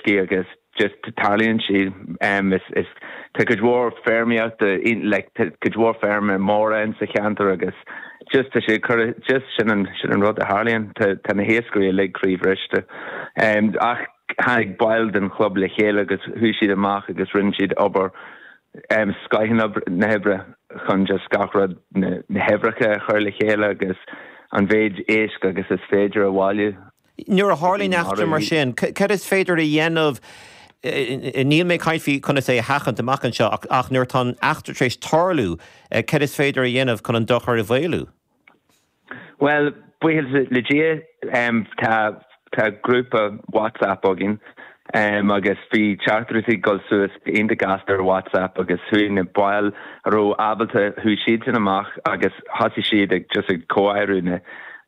uiscí agus just tarlaíonn siad. Is is tá cuid mhór feirmeoireachta like tá cuid mhór feirmeanna móra in sa cheantar agus just tá sé cur just sin an sin an rud a tharlaíonn. Tá tá na hiascairí uilig croíbhriste. Ach tháinig baill den chlub le chéile agus chuaigh siad amach agus rinne siad obair scoth na hoibre chun just gach rud na huimhreacha a chur le chéile agus an mhéid éisc agus is féidir a bhailiú. Nuair a tharlaíonn eachtra mar sin, cad is féidir a dhéanamh, níl mé ag caint faoi conas é a sheachaint amach anseo, ach nuair atá an eachtra tar éis tarlú, cad is féidir a dhéanamh chun an dochar a mhaolú? Bhuel, buíochas le Dia, tá tá grúpa WhatsApp againn agus bhí teachtaireachtaí ag dul suas iontach gasta ar WhatsApp agus chuaigh na baill a raibh ábalta, chuaigh siadsan amach agus thosaigh siad ag just ag comhaireamh na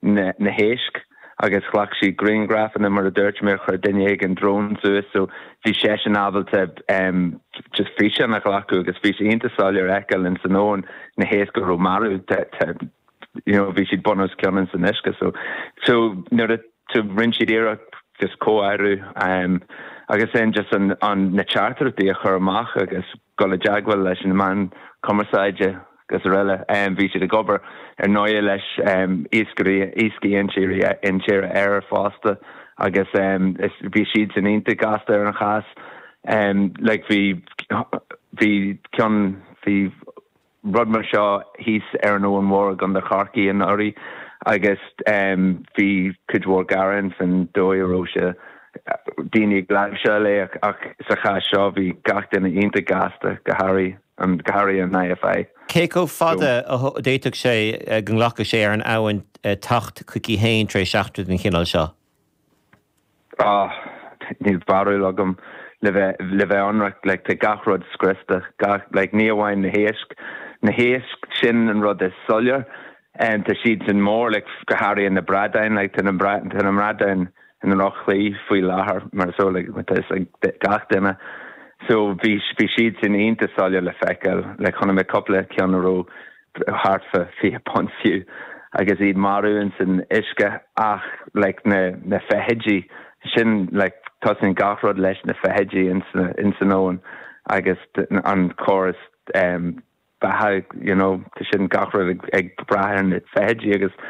na na héisc agus ghlac siad grianghrafanna mar a dúirt mé, chuir duine éigin drón suas so bhí seisean ábalta just físeán a ghlacadh agus bhí sé iontach soiléir a fheiceáil ins an abhainn na héisc a raibh marbh. you know bhí siad bun os cionn ins an uisce so so nuair a so rinne siad iarracht just comhaireamh um, agus then just an, an na teachtaireachtaí a chur amach agus dul i dteagmháil leis na meáin cumarsáide agus araile. Um, bhí siad ag obair ar ndóigh leis um, iascairí iascaigh intíre intíre Éireann fosta agus um, is, bhí siad san iontach gasta ar an chás. Um, like bhí bhí ceann bhí rud mar seo thíos ar an Abhainn Mhór i gContae Chorcaí anuraidh agus bhí cuid mhór gearán faoin dóigh a raibh sé, daoine ag láimhseáil é ach sa chás seo bhí gach duine iontach gasta, go háirithe an, go háirithe an IFI. Cé chomh fada a d'fhéadfadh sé go nglacfadh sé ar an abhainn teacht chuici féin tar éis eachtra den chineál seo? Ah, níl barúil agam le bheith, le bheith ionraic, like tá gach rud scriosta, gach, like ní amháin na héisc, na héisc sin an rud is soiléir, em tá siad sin mór, like go háirithe na bradáin, like tá na, tá na bradáin i ndroch-shlí faoi láthair mar so like tá fhios ag gach duine. So bhí, bhí siad sin iontach soiléir le feiceáil, like chonaic mé cúpla ceann a raibh thart fá 20 punt fiú agus iad marbh ins an uisce ach like na na feithidí sin like tosaíonn gach rud leis na feithidí ins na ins an abhainn agus an córas um beatha you know tá sin gach rud ag ag brath ar na feithidí agus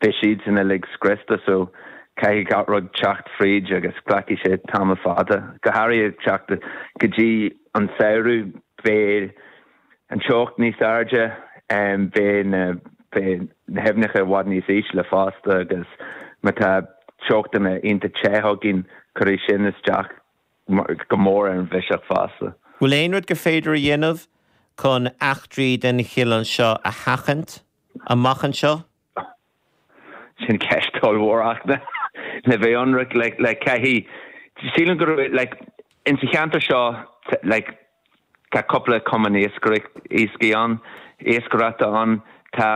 beidh siad sin uilig scriosta so caithfidh gach rud teacht fríd agus glacfaidh sé tamall fada go háirithe teacht go dtí an samhradh beidh an teocht níos airde, beidh na beidh na haibhneacha i bhfad níos ísle fosta agus má tá teochtanna iontach te againn, cuirfidh sin isteach go mór ar an bhiseach fosta. Bhfuil aon rud gur féidir a dhéanamh chun eachtraí den chineál seo a sheachaint amach anseo? Sin ceist ollmhór ach le bheith ionraic like like caithfidh sílim go raibh like in sa cheantar seo like tá cúpla cumann iascaireacht iascaigh ann iascaireachta ann tá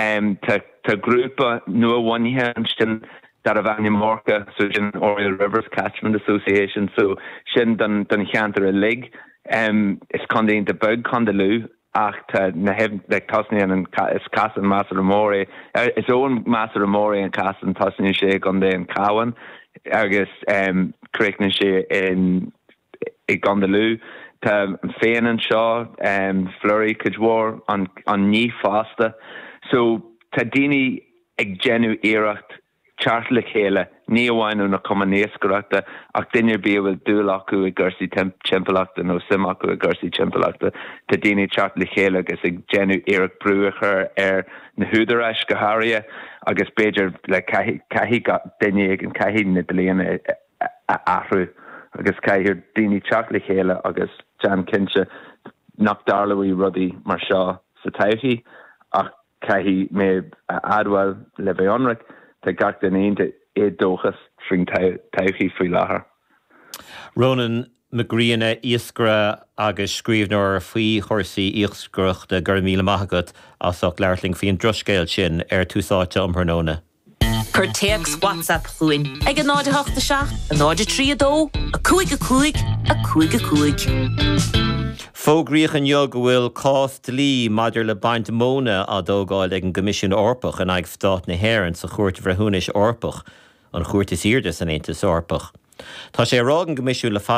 em tá tá grúpa nuabhunaithe ansin darbh ainm Orca so sin Oriel Rivers Catchment Association so sin don don cheantar uilig em is contae iontach beag Contae Lú ach tá na haibh like tosnaíonn an is casán measartha mór é is abhainn measartha mór é an casán tosnaíonn sé i gContae an Chabháin agus em críochnaíonn sé in i gContae Lú. Tá an Fén anseo em Fleurie cuid mhór an an Níth fosta so tá daoine ag déanamh iarracht teacht le chéile, ní amháin ó na cumainn iascaireachta ach duine ar bith a bhfuil dúil acu i gcúrsaí timpeallachta nó suim acu i gcúrsaí timpeallachta. Tá daoine ag teacht le chéile agus ag déanamh iarracht brú a chur ar na húdaráis go háirithe agus b'fhéidir le caithfidh duine éigin, caithfidh na dlíthe a athrú agus caithfidh daoine teacht le chéile agus déanamh cinnte nach dtarlóidh rudaí mar seo sa todhchaí ach Caithfidh mé a admháil, le bheith ionraic, tá gach duine iontach éadóchasach faoin todhchaí faoi láthair. Rónán Mac Grianna, iascaire agus scríbhneoir faoi chúrsaí iascaireachta, go raibh míle maith agat as ucht labhairt linn faoi an drochscéal sin ar Tús Áite um thráthnóna. Cuir téacs WhatsApp chugainn ag 0 8 7 0 3 2 5 5 5 5. Fógraíodh inniu go bhfuil cás dlí maidir le baint móna á dtógáil ag an gCoimisiún Eorpach in aghaidh Stát na hÉireann sa Chúirt Bhreithiúnais Eorpach, an chúirt is airde san Aontas Eorpach. Tá sé á rá ag an gCoimisiún le fada.